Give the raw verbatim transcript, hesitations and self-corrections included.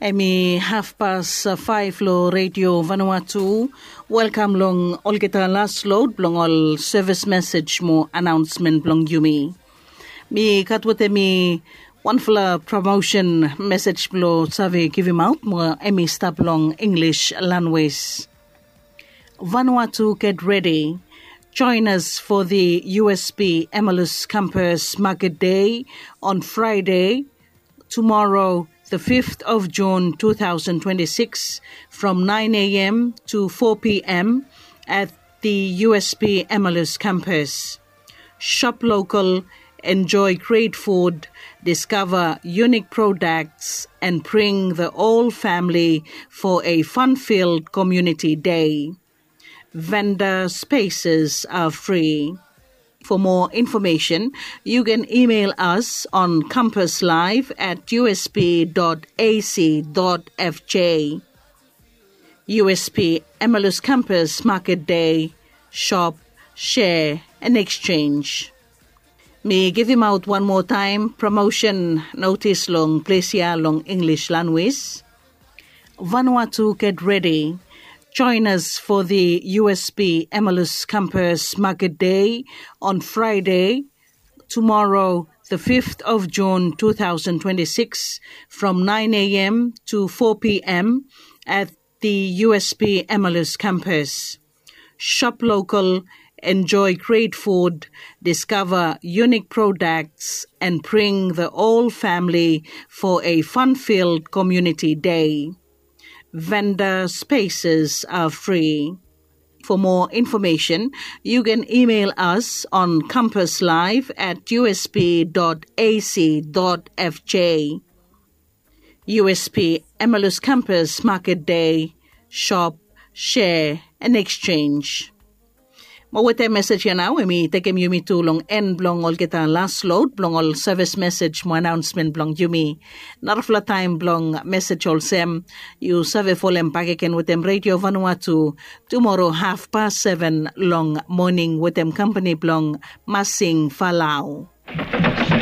Em i hafpas faef long Redio Vanuatu. Welkam long olgeta las lod blong ol sevis mesej mo anaonsmen blong yumi. Mi gat wetem mi wanfala promosen mesej blong save givimaot mo em i stap long English lanwis. Vanuatu, get ready. Join us for the U S B Emmalus Campus Market Day on Friday, tomorrow, the fifth of June two thousand twenty-six, from nine a m to four p m at the U S B Emmalus campus. Shop local, enjoy great food, discover unique products, and bring the whole family for a fun-filled community day. Vendor spaces are free. For more information, you can email us on campuslive at U S B dot A C dot F J. U S B Emmalus Campus Market Day, shop, share, and exchange. Mi givimaot wan moa taem promosen notis long ples ya long English lanwis. Vanuatu, get ready. Join us for the U S B Emmalus Campus Market Day on Friday, tomorrow, the fifth of June two thousand twenty-six, from nine a m to four p m at the U S B Emmalus campus. Shop local, enjoy great food, discover unique products, and bring the whole family for a fun-filled community day. Vendor spaces are free. For more information, you can email us on campuslive at U S B dot A C dot F J. U S B Emmalus Campus Market Day, shop, share, and exchange. Mo wetem mesej ya nao, em i tekem yumi tu long en blong olgeta las lod blong ol sevis mesej mo anaonsmen blong yumi. Narafala taem blong mesej olsem, yu save folem bakegen wetem Redio Vanuatu tumoro hafpas seven long moning wetem kampani blong Masing Falau.